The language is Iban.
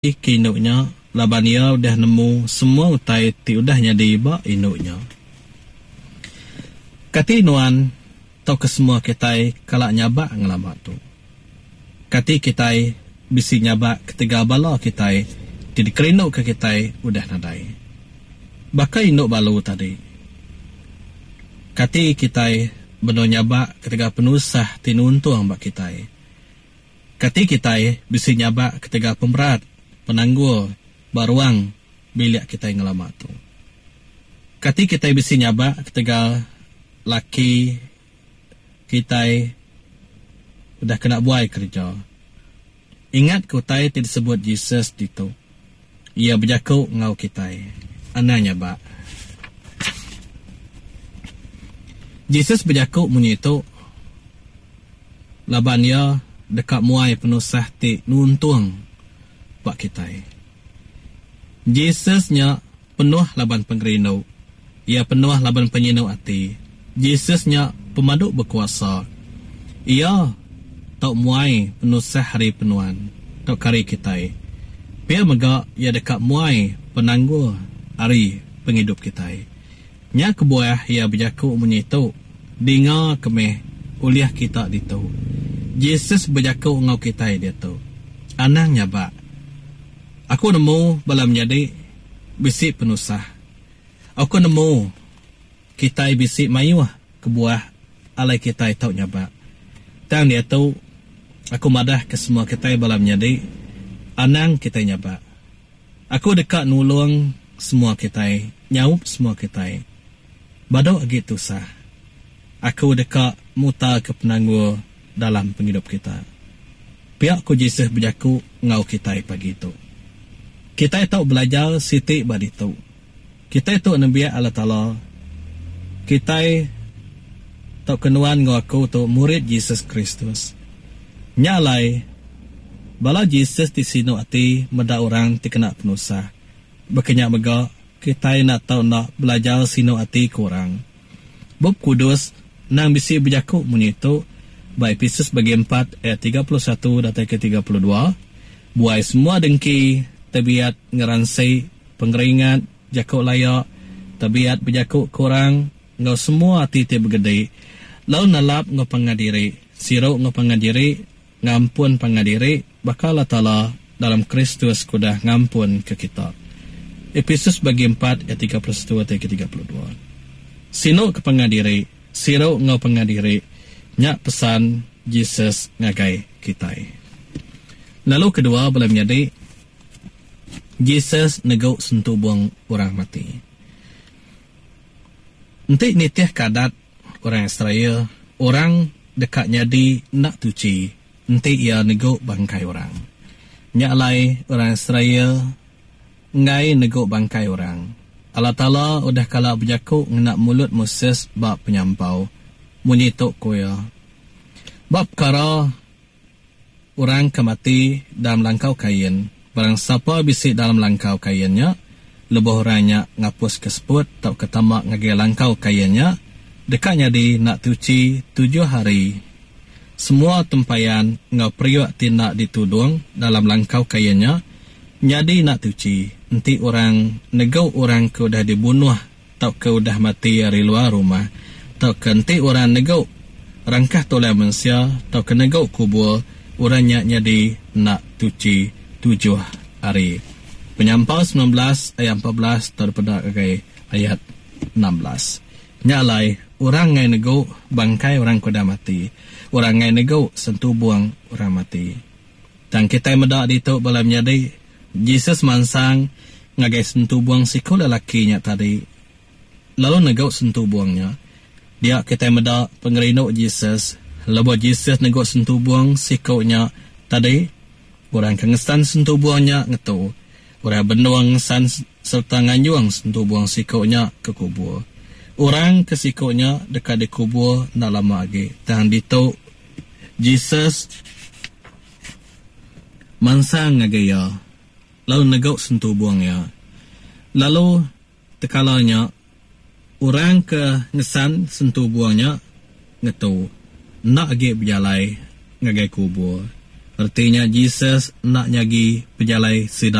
Ke indu nya laban iya udah nemu semua utai ti udah nyadi ba indu nya. Kati nuan tauka semua kitai kala nyabak ngelama tu? Kati kitai bisi nyabak ketegal bala kitai ti dikerinduka kitai udah nadai? Baka indu balu tadi, kati kitai benung nyabak ketegal penusah ti nuntung ba kitai? Kati kitai bisi nyabak ketegal pemerat penanggul ba ruang bilik kitai ngelama tu? Kati kitai bisi nyabak ketegal laki kitai udah kena buai kereja? Ingatka utai ti disebut Jesus ditu. Iya bejaku enggau kitai, Anang nyabak. Jesus bejaku munyi tu laban iya deka muai penusah ti nuntung ba kitai. Jesus nya penuh laban pengerindu. Iya penuh laban penyinu ati. Jesus nya pemadu bekuasa. Iya tau muai penusah ari penuan tauka ari kitai. Pia mega iya deka muai penanggul ari pengidup kitai. Nya kebuah iya bejaku munyi tu, Dinga ke meh ulih kita ditu. Jesus bejaku enggau kitai diatu. Anang nyabak. Aku nemu bala menyadi bisi penusah. Aku nemu kitai bisi mayuh kebuah alai kitai tau nyabak. Tang diatu, aku madah ke semua kitai bala menyadi, anang kitai nyabak. Aku deka nulung semua kitai, nyaup semua kitai. Badu agi tusah. Aku deka mutarka penanggul dalam pengidup kita. Pia ku Jesus bejaku enggau kitai pagi tu. Kitai tau belajar siti ba ditu. Kitai tu nembiak Allah Taala. Kitai tauka nuan enggau aku tu murid Jesus Kristus. Nya alai, bala Jesus ti sinu ati meda orang ti kena penusah. Baka nya mega, kitai enda tau enda belajar sinu ati ke orang. Bup Kudus endang bisi bejaku munyi tu ba Epesus bagi empat ayat 31 datai ke 32, Buai semua dengki, tebiat ngeransi, pengeringat, jaku laya, tebiat bejaku ke orang, enggau semua ati ti begedi, lalu nelap enggau pangan diri, siru enggau pangan diri, ngampun pangan diri, baka Allah Taala dalam Kristus ke udah ngampunka kita. Epesus bagi empat ayat 31 atai ke 32. Sinu ke pangan diri, siru enggau pangan diri, nya pesan Jesus ngagai kitai. Lalu kedua bala menyadi, Jesus negu sentubung orang mati. Enti nitihka adat orang Israel, orang deka nyadi enda tuchi enti iya negu bangkai orang. Nya alai orang Israel enggai negu bangkai orang. Allah Taala udah kala bejaku ngena mulut Moses ba penyampau. Munyi tu ku iya, Ba pekara orang ke mati dalam langkau kain, barang sapa bisi dalam langkau kain nya, lebuh orang nya ngapuska seput tauka tama ngagai langkau kain nya, deka nyadi enda tuchi tujuh hari. Semua tempayan enggau periuk ti enda ditudung dalam langkau kain nya nyadi enda tuchi enti orang negu orang ke udah dibunuh tauka udah mati ari luar rumah, tauka enti orang negu rangkah tulang mensia tauka negu kubur, orang nya nyadi enda tuchi tujuh hari. Penyampau 19 ayat 14 tau dipeda ngagai ayat 16. Nya alai, orang enggai negu bangkai orang ke udah mati. Orang enggai negu sentubung orang mati. Tang kitai meda ditu bala menyadi, Jesus mansang ngagai sentubung siku lelaki nya tadi, lalu negu sentubung nya. Dia kitai meda pengerindu Jesus lebuh Jesus negu sentubung siku nya tadi, orang ke ngesan sentubung nya ngetu. Orang benung ngesan sereta nganjung sentubung siku nya ke kubur. Orang ke siku nya deka dikubur enda lama agi. Tang ditu, Jesus mansang ngagai iya lalu negu sentubung iya. Lalu tekala nya, orang ke ngesan sentubung nya ngetu, enda agi bejalai ngagai kubur. Reti nya Jesus enda nyagi pejalai sida.